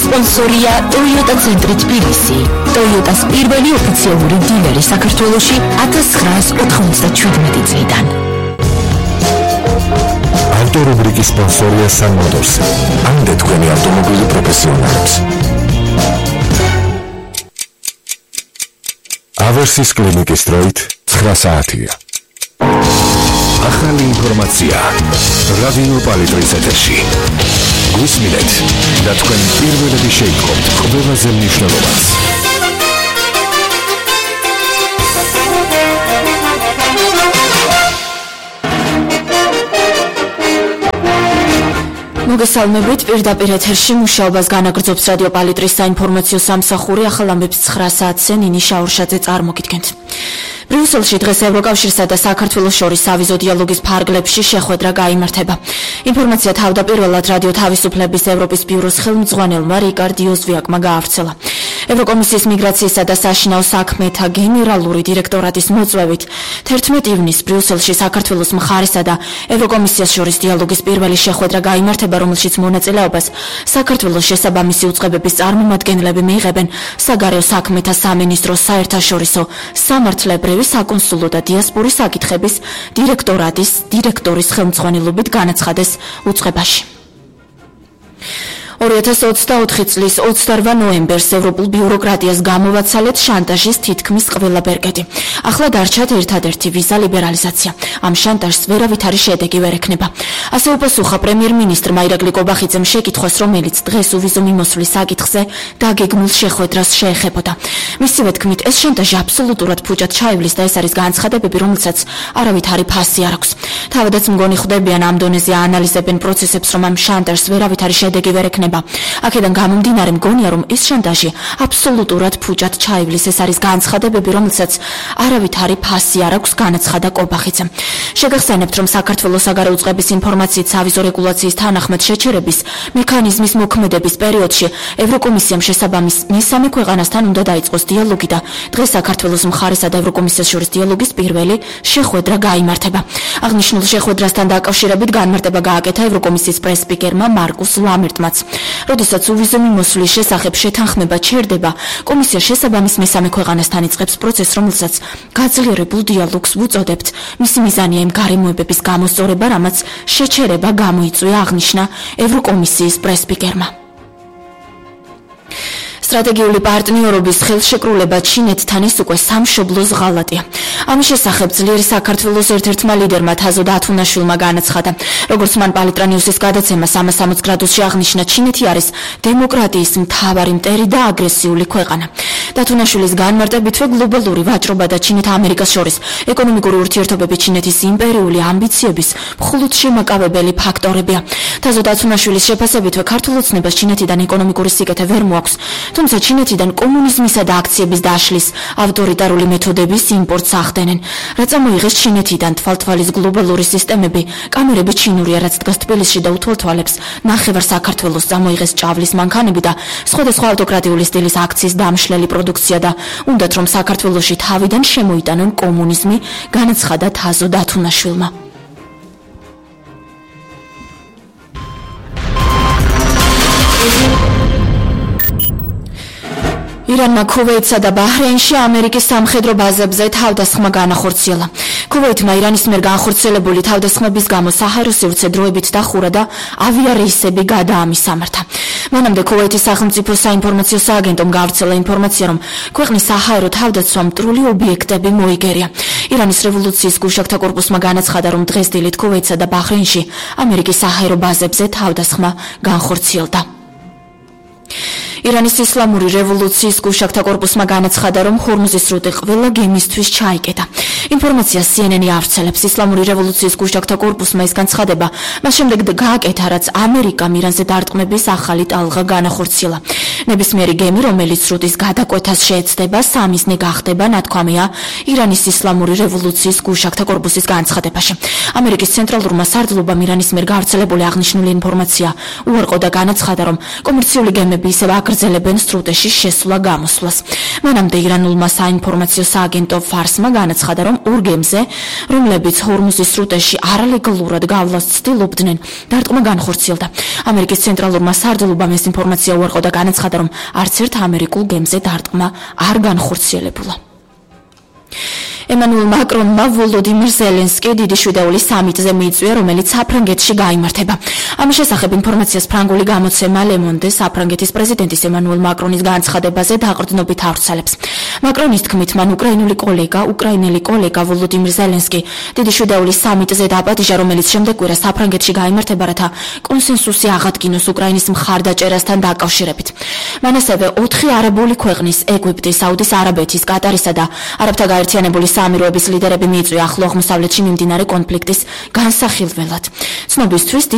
სპონსორია Toyota ცენტრი თბილისი. Toyota-ს პირველი ოფიციალური დილერი საქართველოში 1997 წლიდან. ავტორუბრიკის სპონსორია Sun Motors. ამდე თქვენი ავტომობილი პროფესიონალებს. ავერსის კლინიკის დროით 9 საათია. ახალი ინფორმაცია რადიო პალიტრის ეთერში. გვისმინეთ და თქვენ პირველები შეიტყობთ ყველაზე მნიშვნელოვანს. მოგესალმებით, პირდაპირ ეთერში მუშაობას განაგრძობს რადიო პალიტრის საინფორმაციო სამსახური. ახალ ამბებს 9 საათზე ნინი შაურშაძე წარმოგიდგენთ. ბრიუსელში დღეს ევროკავშირსა და საქართველოს შორის ავიზო დიალოგის ფარგლებში შეხვედრა გაიმართება. ინფორმაცია თავდაპირველად რადიო თავისუფლების ევროპის ბიუროს ხელმძღვანელმა რიკარდ იოზვიაკმა გაავრცელა. ევროკომისიის მიგრაციისა და საშინაო საქმეთა გენერალური დირექტორატის მოწვევით 11 ივნისს ბრიუსელში საქართველოს მხარესა და ევროკომისიას შორის დიალოგის პირველი შეხვედრა გაიმართება, რომელშიც მონაწილეობას საქართველოს შესაბამისი უწყებების წარმომადგენლები მიიღებენ საგარეო საქმეთა სამინისტროს საერთაშორისო სამართლებრივი საკონსულო და დიასპორის საკითხების დირექტორატის დირექტორის ხელმძღვანელობით განაცხადეს უწყებაში. 2024 წლის 28 ნოემბერს ევროპულ ბიუროკრატიას გამოვაცალეთ შანტაჟის თითქმის ყველა ბერკეტი. ახლა დარჩათ ერთადერთი ვიზა ლიბერალიზაცია. ამ შანტაჟს ვერავითარი შედეგი ვერ ექნება. ასე უპასუხა პრემიერ-მინისტრმა ირაკლი კობახიძემ შეკითხვას, რომელიც დღეს უვიზო მიმოსვლის საკითხზე დაგეგმულ შეხვედრას შეეხებოდა. მისივე თქმით, ეს შანტაჟი აბსოლუტურად ფუჭად ჩაივლის და ეს არის განცხადებები, რომელსაც არავითარი ფასი არ აქვს. თავადაც მგონი ხვდებიან ამ დონეზე აანალიზებენ პროცესებს, რომ ამ შანტაჟს ვერავითარი შედეგი ვერ ექნება. აქედან გამომდინარე მგონია, რომ ეს შანტაჟი აბსოლუტურად ფუჭად ჩაივლის. ეს არის განცხადებები, რომელსაც არავითარი ფასი არ აქვს, განაცხადა კობახიძემ. შეგახსენებთ, რომ საქართველოს საგარეო უწყების ინფორმაციით სავიზო რეგულაციის თანახმად შეჩერების მექანიზმის მოქმედების პერიოდში ევროკომისიამ შესაბამის მესამე ქვეყანასთან უნდა დაიწყოს დიალოგი და დღეს საქართველოს მხარესა და ევროკომისიას შორის დიალოგის პირველი შეხვედრა გაიმართება. აღნიშნულ შეხვედრასთან დაკავშირებით განმარტება გააკეთა ევროკომისიის პრეს-სპიკერმა მარკუს ლამერტმაც. როდესაც უვიზო მიმოსვლის შესახებ შეთანხმება ჩერდება, კომისია შესაბამის მესამე ქვეყანასთან იწყებს პროცესს, რომელსაც გაძლიერებულ დიალოგს ვუწოდებთ. მისი მიზანია იმ გარემოებების გამოსწორება, რამაც შეჩერება გამოიწვია, აღნიშნა ევროკომისიის პრეს-სპიკერმა. სტრატეგიული პარტნიორობის ხელშეკრულება ჩინეთთან ის უკვე სამშობლოს ღალატია. ამის შესახებ ძლიერი საქართველოს ერთ-ერთმა ლიდერმა თაზო დათუნაშვილმა განაცხადა. როგორც მან პალიტრა ნიუსის გადაცემა 360 გრადუსში აღნიშნა, ჩინეთი არის დემოკრატიის მთავარი მტერი და აგრესიული ქვეყანა. დათუნაშვილის განმარტებითვე გლობალური ვაჭრობა და ჩინეთ-ამერიკას შორის ეკონომიკური ურთიერთობები ჩინეთის იმპერიული ამბიციების მხოლოდ შემაკავებელი ფაქტორებია. თაზო დათუნაშვილის შეფასებითვე ქართულ ოცნებას ჩინეთიდან ეკონომიკური სიკეთე ვერ მოაქვს. თუმცა ჩინეთიდან კომუნიზმისა და აქციების დაშლის ავტორიტარული მეთოდების იმპორტს ახდენენ. რაც ამოიღეს ჩინეთიდან თვალთვალის გლობალური სისტემები, კამერები ჩინურია, რაც დგას თბილისში და უთვალთვალებს ნახევარ საქართველოს, წამოიღეს ჭავლის მანქანები და სხვადასხვა ავტოკრატიული სტილის აქციის დამშლელი პროდუქცია და უნდათ რომ საქართველოში თავიდან შემოიტანონ კომუნიზმი, განაცხადა თაზო დათუნაშვილმა. ირანმა ქუვეითსა და ბაჰრეინში ამერიკის სამხედრო ბაზებზე თავდასხმა განახორციელა. ქუვეითმა ირანის მიერ განხორციელებული თავდასხმების გამო საჰაერო სივრცე დროებით დახურა და ავიარეისები გადაამისამართა. მანამდე ქუვეითის სახელმწიფო საინფორმაციო სააგენტომ გავრცელა ინფორმაცია, რომ ქვეყნის საჰაერო თავდაცვამ მტრული ობიექტები მოიგერია. ირანის რევოლუციის გუშაგთა კორპუსმა განაცხადა, რომ დღეს დილით ქუვეითსა და ბაჰრეინში ამერიკის საჰაერო ბაზებზე თავდასხმა განხორციელდა. ირანის ისლამური რევოლუციის გუშაგთა კორპუსმა განაცხადა, რომ ჰორმუზის სრუტე ყველა გემისთვის ჩაიკეტა. ინფორმაცია CNN-ი ავრცელებს. ისლამური რევოლუციის გუშაგთა კორპუსმა ეს განცხადება მას შემდეგ გააკეთა, რაც ამერიკამ ირანზე დარტყმების ახალი ტალღა განახორციელა. ნებისმიერი გემი, რომელიც სრუტის გადაკვეთას შეეცდება, სამიზნე გახდება, ნათქვამია ირანის ისლამური რევოლუციის გუშაქთა კორპუსის განცხადებაში. ამერიკის ცენტრალურმა სარდლობამ ირანის მიერ გავრცელებული აღნიშნული ინფორმაცია უარყო და განაცხადა, რომ კომერციული გემები ისევ აგრძელებენ სრუტეში შესვლა-გამოსვლას. მანამდე ირანულმა საინფორმაციო სააგენტო ფარსმა განაცხადა, რომ ორ გემზე, რომლებიც ჰორმუზის სრუტეში არალეგალურად გავლას ცდილობდნენ, დარტყმა განხორციელდა. ამერიკის ცენტრალურმა სარდლობამ ეს ინფორმაცია უარყო და განაცხადა, რომ არც ერთ ამერიკულ გემზე დარტყმა არ განხორციელებულა. ემანუელ მაკრონმა ვოლოდიმირ ზელენსკი დიდი შვიდაულის სამიტზე მიიწვია, რომელიც საფრანგეთში გაიმართება. ამის შესახებ ინფორმაციას ფრანგული გამოცემა Le Monde საფრანგეთის პრეზიდენტის ემანუელ მაკრონის განცხადებაზე დაყრდნობით ავრცელებს. მაკრონის თქმით, მან უკრაინელი კოლეგა ვოლოდიმირ ზელენსკი დიდი შვიდაულის სამიტზე დააპატიჟა, რომელიც შემდეგ კვირა საფრანგეთში გაიმართება, რათა კონსენსუსი აღადგინოს უკრაინის მხარდაჭერასთან დაკავშირებით. მან ასევე 4 არაბული ქვეყნის, ეგვიპტის, საუდის არაბეთის, კატარისა და არაბთა გაერთიანებული საამიროების ლიდერები მიიწვია ახლო აღმოსავლეთში მიმდინარე კონფლიქტის განსახილველად. ცნობისთვის, დიდი